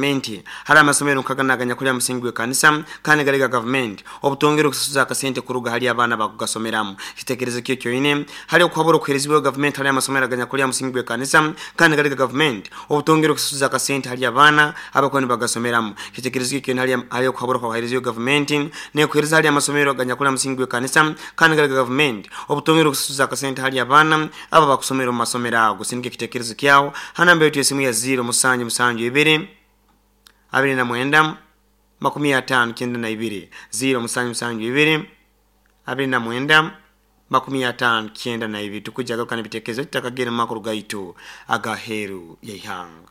Gavumenti hali amasomero nka ganu aganyakuli ha musingi gw'ekanisa kandi gali ga gavumenti obutongera okusasuza akasente kuruga hali abaana abakugasomeramu. Kitekerezo ki ekyoine hali okuhabura okuherezibweho gavumenti hali amasomero aganyakuli ha musingi gw'ekanisa kandi gali ga gavumenti obutongera okusasuza akasente hali abaana abakuba nibagasomeramu? Kitekerezo ki ekyoine hali hali okuhabura okwaherezibweho gavumenti n'ekuhereza hali amasomero aganyakuli ha musingi gw'ekanisa kandi gali ga gavumenti obutongera okusasuza akasente hali abaana abo abakusomera omu masomero ago? Sindika ekitekerezo kyawe ha namba yaitu y'esimu ya ziiro musanju musanju ibiri 29 59 ziiro musanju musanju ibiri 29 59. Tukwija garuka n'ebitekerezo tutakagenda mu makuru gaitu ag'aheeru y'eihanga.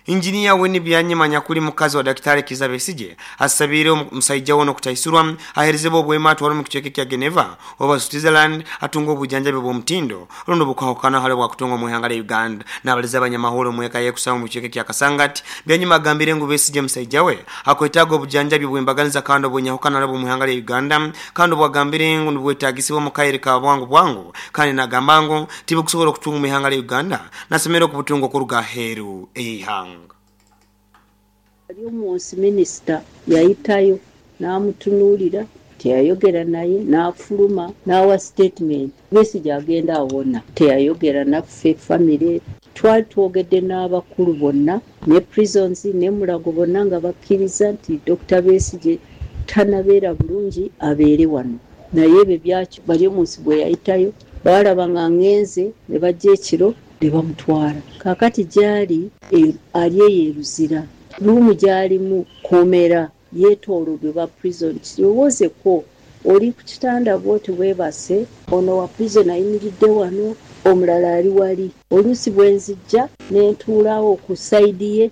Injiniya Winnie Byanyima anyakuli mukazi wa Dakitari Kizza Besigye asabiire omusaija we n'okutaisurwa aherezebwe obwema atwarwe omu kicweka ekya Geneva oba Switzerland atunge obujanjabi obw'omutindo rundi obukwahukana hali obwakutunga omu ihanga lya Uganda. Nabaliza abanyamahurre omu eka ye kusaba omu kicweka ekya Kasangati, Byanyima agambire ngu Besigye musaija we akwetaaga obujanjabi obw'embaganiza kandi obw'enyahukana hali obw'omu ihanga lya Uganda kandi obwagambire ngu nibwetagisibwa omu kaire ka bwangu bwangu kandi nagamba ngu tibukusobora okutunga omu ihanga lya Uganda. Nasemererwa okubutunga okuruga aheeru ey'eihanga. Baryomunsi minisita yaitayo n'amutunuulira, teyayogera naye, n'afuluma n'awa sitetimenti. Besigye agenda awona. Teyayogera naffe famire. Twali twogedde n'abakulu bonna ne Prisons ne Mulago bonna nga bakkiriza nti Dokita Besigye tanabeera bulungi abeere wano. Naye ebyo byakyo Baryomunsi bweyayitayo baalaba nga ngenze ne bajja ekiro ne bamutwala. Kaakati gy'ali eyo ali eyo e Luzira. Room gy'alimu kkomera yeetooloddwa ba prison. Kirowoozeko oli ku kitanda bw'oti weebase, ono owa prison ayimiridde wano, omulala ali wali. Oluusi bwe nzija ne ntuula awo ku side ye.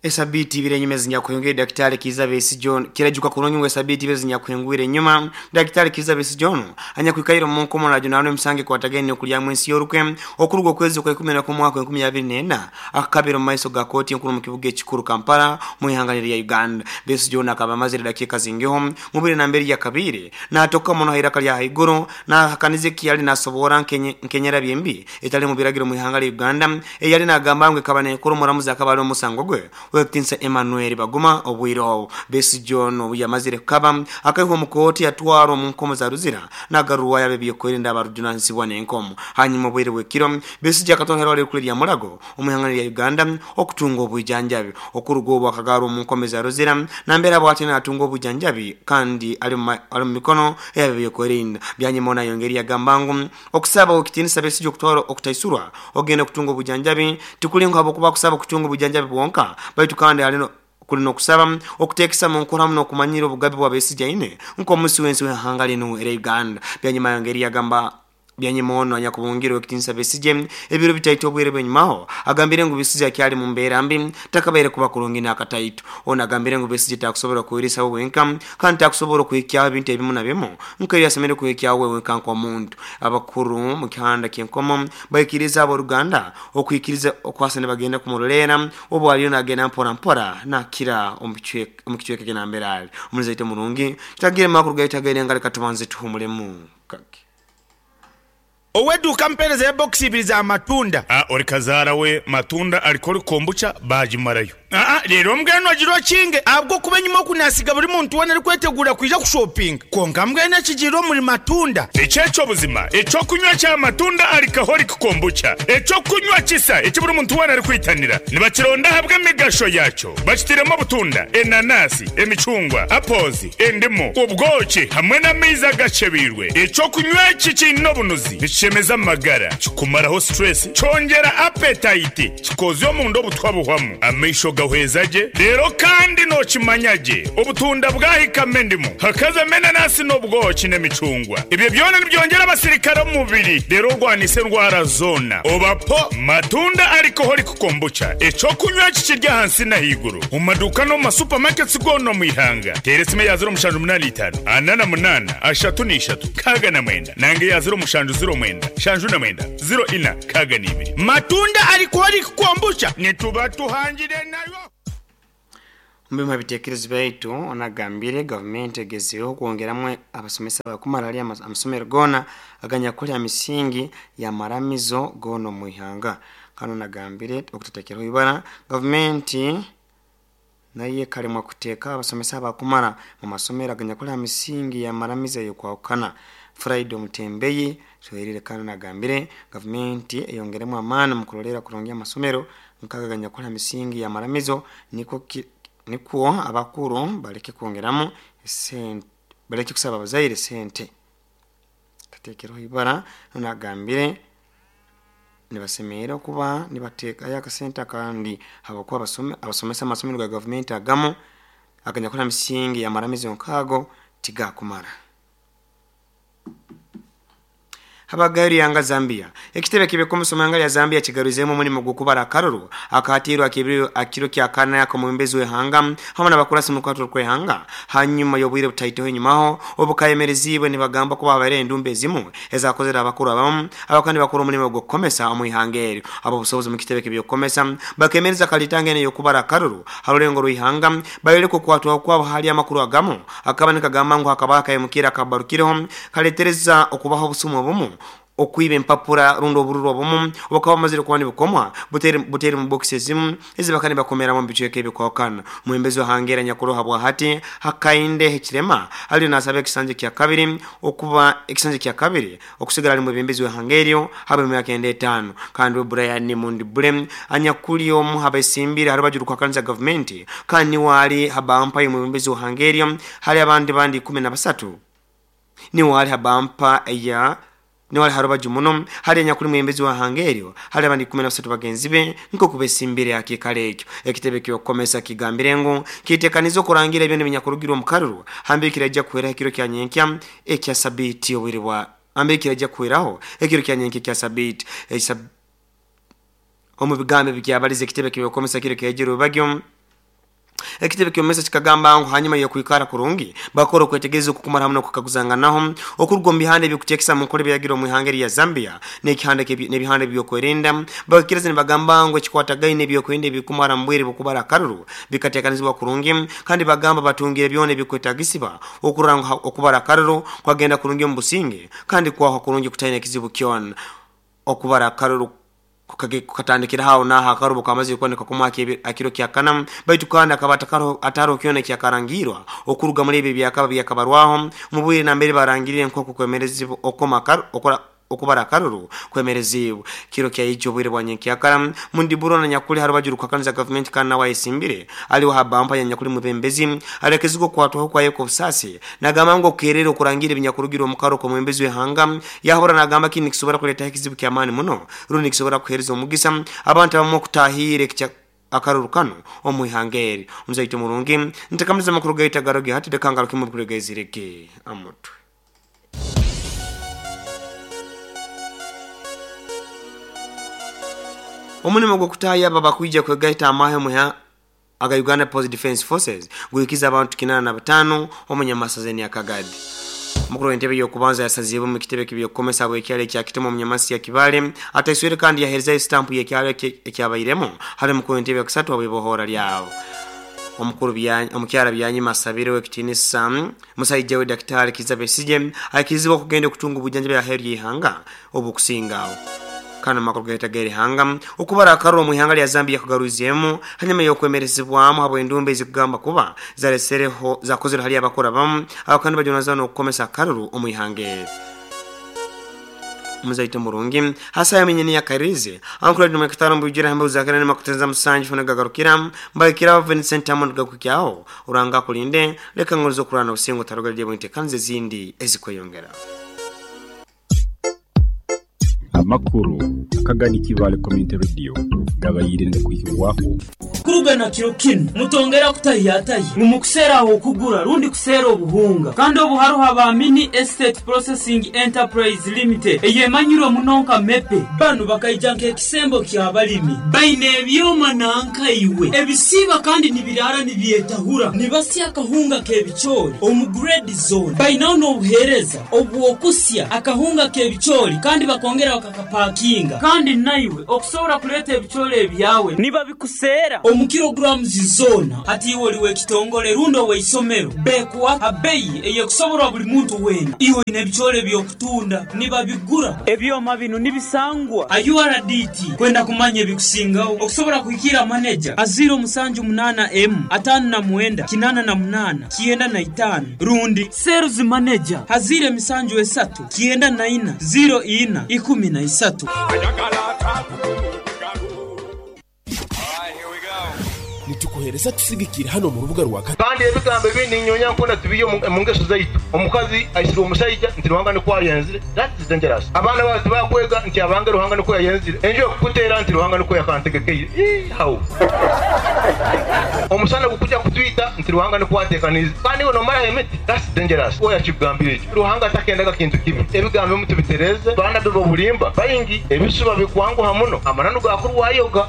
Esabiiti ibiri enyuma ezinyakuhingwire Dakitali Kiiza Besigye ono Kirajuka kurungi ngu esabiiti ibiri ezinyakuhingwire enyuma Dakitali Kiiza Besigye ono anyakwikaire omu nkomo najunaanwa emisango ekwatagaine n'okulyamu ensi y'orukwe okuruga okwezi okwa 11 omwaka 2024 akakabira omu maiso ga kooti enkuru omu kibuga ekikuru Kampala omu ihanga liri lya Uganda. Besigye ono akaba amazire edakiika zingiho mu bwire nambere yakabaire natoka muno ha iraka lya haiguru nahakaniza ekiyali nasoboora nk'enyerabya embi etali mu biragiro mu ihanga lya Uganda eyali nagamba ngu ekaba nekora omuramuzi akaba ali omusango gwe ow'ekitinisa Emmanuel Baguma obwire obu. Besigye ono obu yamazire kukaba akaihwa omu kooti yatwarwa omu nkomo za Luzira nagarurwayo ab'ebyokwerinda abarujunanizibwa n'enkomo. Hanyuma obwire bw'ekiro, Besigye akatwarwa ahairwariro erikuru erya Mulago omu ihanga lya Uganda okutunga obwijanjabi. Okuruga obu akagarurwa omu nkomo eza Luzira nambere abwatyo natunga obwijanjabi kandi ali mu mikono ey'ab'ebyokwerinda. Byanyima ono ayongeire yagamba ngu Okusaba ow'ekitiinisa Besigye okutwara okutaisurwa okugenda kutunga obujanjabi tikuli ngu habwokuba akusaba kutunga obujanjabi bwonka baitu kandi ali kuli n'okusaba okuteekesa mu nkora hamu n'okumanyira obugabe bwa Besigye aine nk'omusi w'ensi w'ihanga linu erya Uganda. Byanyima ayongeire yagamba Byanyima ono anyakubungiire ow'ekitiinisa Besigye ebiro bitaito obwire bw'enyumaho agambire ngu Besigye akyali mu mbeera mbi takabaire kuba kurungi n'akataito. Ono agambire ngu Besigye takusobora kweriisaho wenka kandi takusobora okuhikyaho ebintu ebimu na bimu Nkaire asemeriire kuhikyaho we wenka nk'omuntu. Abakuru mu kihanda ky'enkomo baikiriize ab'oruganda okwikiriza okwasa nibagenda kumuroleera obu aliyo nagenda mpora mpora nakira omu kicweka eki nambere ali. Omulinzi waitu omurungi, tutagiire mu makuru gaitu ag'eirenga leka tubanze tuhumulemu kake. Ow'eduuka ampeereza ya bokisi ibiri za matunda. A Ori kazaara we matunda arikora kombucha baagimarayo. Aa Reero mbwenu ogire okinge ahabw'okuba enyima oku naasiga buri muntu weena arikweteguura kwija kushopinga. Kwonka mbwenu ekigiire omuri matunda. Eki eky'obuzima, eky'okunywa kya matunda alcoholic kombucha, eky'okunywa kisa eki buri muntu weena arikwitanira. Nibakironda ahabw'emigasho yaakyo. Bakitairemu obutunda, enanasi, emicungwa, apples, Endimu, obwoki hamwe n'amaizi agakyebeirwe. Eky'okunywa eki kiine obunuzi, nikishemeza amagara, kikumaraho stress, kyongyera appetite, kikoozya omunda obutwa buhwamu, amaisho gahweza gye, reero kandi nookimanya gye obutunda bwahikamu endimu, hakazamu enanasi n'obwoki n'emicungwa. Ebyo byona nibyongyera abasirikare omu mubiri reero orwanise endwara zoona. Oba po Matunda Alcoholic Kombucha, eky'okunywa eki kiri ahansi n'ahaiguru. Omu maduuka n'omu ma supermarkets goona omu ihanga. Teera esimu eya 0785 48 33 69 nanga eya 0709 79 04 62. Matunda alcoholic kombucha nituba tuhangire nayo. Mubimu bitekerezo byaitu onagambire gavumenti egezeho kwongeramu abasomesa bakumara ali amasomero gona aganyakuli amisingi ya maramizo gona omuihanga. Kano nagambire okutatekeraho ibara gavumenti naye kalemwa kuteeka abasomesa abakumara mu masomero aganyakuli amisingi ya maramizo eyokwahukana. Friday Mutembeyi soherire kano nagambire gavumenti eyongeremu amaani mu kulolera kurungi amasomero nkaga aganyakuli amisingi ya maramizo nikwo abakuru baleke kwongeramu sente, baleke kusaba abazaire sente. Tatekeraho ibara nagambire nibasemeera okuba nibateekayo akasente akandi habwokuba abasomesa amasomero ga gavumenti agamu aganyakuli misingi ya maramizo nkaago tigakumara. Habagari yanga Zambia ekitebe kibekomusomanga ya Zambia kigaruzemu omulimu gw'okubara akaruru akatirwa akiro kya kana yakomumbezi wehanga hamwe n'abakurasi mu kwatwa kwehanga hanyuma y'obwire butaiteho enyumaho obukayemerezibwe nibagamba kuba abaire endumbe ezimu ezakozera abakuru abamu abakandi bakora omulimu gw'okukomesa omu ihanga eryo. Abo busobozi mu kitebe kibyokukomesa bakemereza kalitanga ene y'okubara akaruru harulengo rw'ihanga bayoleka okwatwa kwabo hali amakuru agamu akaba nikagamba ngu hakaba akayemukira akabarukireho kaletereza okubaho obusumu obumu okwiba empapura rundo obururu obumu obukaba bumazire kuba nibukomwa butere mu box ezimu ezibaka nibakomeramu mu bicweka ebikwahukana. Mwembezi wa Hangera nyakuroha bwahati Hakainde Hichilema aliyo nasaba ekisanja kya kabiri okuba ekisanja kya kabiri okusigala ali mwebembezi wa Hangerio habe myaka enda 5. Kandi Brian Mundibule anyakuli omu habesimbire harubaju rukwakanisa gavumenti kandi wali habampa mwebembezi wa Hangerio hali abandi bandi 13 ni wali habampa ya niwali harubaju muno hali nyakuli mwembezi wa Hangerio hali abandi 13 bagenzi be nko kubesimbire akikale ekyo. Ekitebe kyokomesa kigambire ngu kitekanizo kurangira ebyo nebinyakurugirwa mu karuru hambe kirajja kuhera ekiro kya nyenkya ekya sabiti obwire bwa hambe kirajja kuheraho ekiro kya nyenkya ekya sabiti omu bigambo byabalize ekitebe kyokomesa kiro kyejiro bagyo. Ekitebe kyomesa kikagamba ngu hanyuma yokwikara kurungi bakora okwetegereza okukumara hamwe n'okukaguzanganaho okuruga omu bihanda ebyokuteekesa mu nkora ebiragiro omu ihanga erya Zambia n'ebihanda ebyokwerinda bakikiriza nibagamba ngu ekikwatagaine ebyokwerinda ebikumara mu bwire bw'okubara akaruru bikateekanizibwa kurungi kandi bagamba batungire byona ebikwetagisibwa okurora ngu okubara akaruru kwagenda kurungi omu businge kandi kwahwa kurungi kutaina ekizibu kyona. Okubara akaruru kukatandikira hao na hakarubu kamazi kuoneka kumwa akiro kya kana baitu kandi akaba ataro kyona kyakarangirwa okuruga muri ebi byakaba byakabarwaho mu bwire na mbere barangirire nko kukwemerezibwa okubara akaruru kwemerezibwa kiro kya ijo bwire bwa nyenkyakara Mundiburo na nyakuli harubaju rukakaniza government kana wayesimbire aliwo habampa ya nyakuli mubembezi alekeziko kwatwaho kwa yeko busasi nagamba ngo kerero kurangira ebinyakurugirwa mu karo ko mwembezi wehanga yahora nagamba kini kisobora kuleta ekizibu kya amani muno rundi kisobora kuhereza omugisa abantu abamu okutahire akaruru kano omuihangeri. Omuzaito murungi ntakamaliza makuru gaita garoge hati dakangalo kimwe kuregezireke amutwe. Omulimu gw'okutaya aba bakwija kwegaita amahe muha aga Uganda Police Defense Forces guikiza abantu 85 omunyamasazeni ya Kagadi. Mukuru w'entebe y'okubanza yasazibwe mu kitebe kibyokukomesa bw'ekyalo ekya Kitema omunyamasi ya Kibale ataiswire kandi yahereza estampu y'ekyalo ekyabairemu hari mukuru w'entebe ya kusatu abwebohora lyabo. Omukuru omukyala Byanyima asabire w'ekitinisa musajja we Daktari Kizza Besigye akizibwa okugenda okutunga obujjanjabi aheeru y'ihanga obukusingawo. Kana makuru gaita geri hanga okubara akaruru mu ihanga lya Zambia kugaruziyemu hanyuma y'okwemerezibwamu habw'endumbe ezikugamba kuba zaresereho zakozere hali abakora bamu abakandi bajonazana okukomesa akaruru omu ihanga. Muzaito murungi hasa yamenye ya karize ankura dum kitaro mbujira hambe uzakana ne makutenza musanji funa gagarukira mbakira Vincent Amond gakukyao uranga kulinde leka ngorizo kurana usingo tarogalye bwinte kanze zindi ezikweyongera. Amakuru akagani Kibale Community Radio gabayire ndakwihirwaho kurugana kiro kino mutongera kutayataye mumukusera aho kugura rundi kusera obuhunga kandi obuharuha ba Mini Estate Processing Enterprise Limited eyemanyiro munonka mepe banu bakaijanka ekisembo kya balimi baine ebyoma nanka iwe ebisiba kandi nibirara nibyetahura nibasya akahunga kebichori omu grade zone bainaho n'obuhereza obwokusya akahunga kebichori kandi bakongera bakakapakinga kandi naiwe okusobola kuleta ebichori ebyawe niba bikusera Omu kilograms zoona. Hati iwe oli w'ekitongole rundi ow'eisomero, beekuha ha beeyi ey'ekusoborwa buli muntu weena. Iwe oine ebicoori eby'okutunda, nibabigura. Ebyoma binu nibisangwa ha URDT. Kwenda kumanya ebikusingaho, okusobora kuhikiira maneja ha ziiro musanju munaana emu, ataano na mwenda, kinaana na munaana, 95 rundi Sales Manager ha ziiro emisanju esatu, 94, ziiro ina, 13. Nitukuhereza tusigikire hanu omu rubuga rwa. Kandi ebigambo ebindi ninyonya nkona tubiihe omu ngeso zaitu. Omukazi aisirwe omusaija nti Ruhanga nikwo ayenzire, that is dangerous. Abaana baawe tibakwega nti abange Ruhanga nikwo yayenzire. Enju ekukuteera nti Ruhanga nikwo yakantegekeire. Ii how? Omusana gukuja kutwita nti Ruhanga nikwo atekaniize. Kandi iwe nomaraho emiti, that's dangerous. Oyo akikugambire ekyo. Ruhanga takendaga kintu kibi. Ebigambo ebimu tubitereeze. Baanabi b'obulimba baingi, ebisuba bikwanguha muno, amananu gaakurwayoga.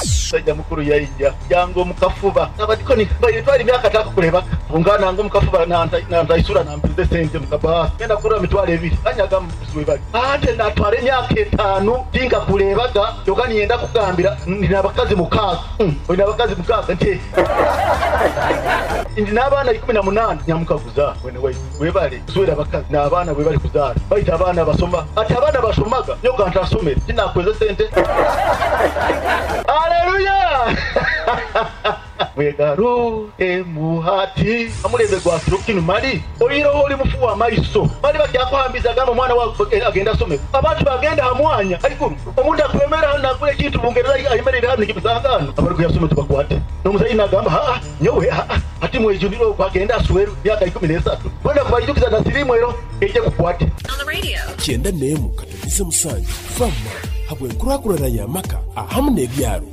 Omusaija mukuru yaija yanga omu kafuba. Abadikoni baire twara emyaka takakurebaga. Bungana nanga omu kafuba nantaisura nampiza esente mu kabaasi. Ngenda kurora mitwaro ebiri banyaga webale. Ante natwara emyaka etaanu tinkakurebaga kyoka niinyenda kukugambira ndi n'abakazi mukaaga. Oine abakazi mukaaga? Nti ndi n'abaana 18. Nyamukaguza mwene waitu webale kuswera abakazi n'abaana webale kuzaara baitu abaana basoma. Ati abaana bashomaga nyowe ka ntasomere tinakweza esente. Aleluya! Mwegarukemu hati. Omulembe gwa kiro kinu mali oihireho oli mufu wa maiso. Mali bakyakuhambiza gamba omwana wawe agende asome. Abantu bagenda ha mwanya haiguru. Omuntu akwemera hanu nagura ekintu Bungereza ayemereire hanu nikimusanga hanu. Abarikuyasoma tubakwate. N'omuzaire nagamba haa nyowe haa hati mwejunire ogu agende aswerwe myaka 13. Kwenda kubaijukiza na sirimu ero eije kukwate. 91.7 Fama habw'enkurakurana y'amaka ahamu n'ebyaro.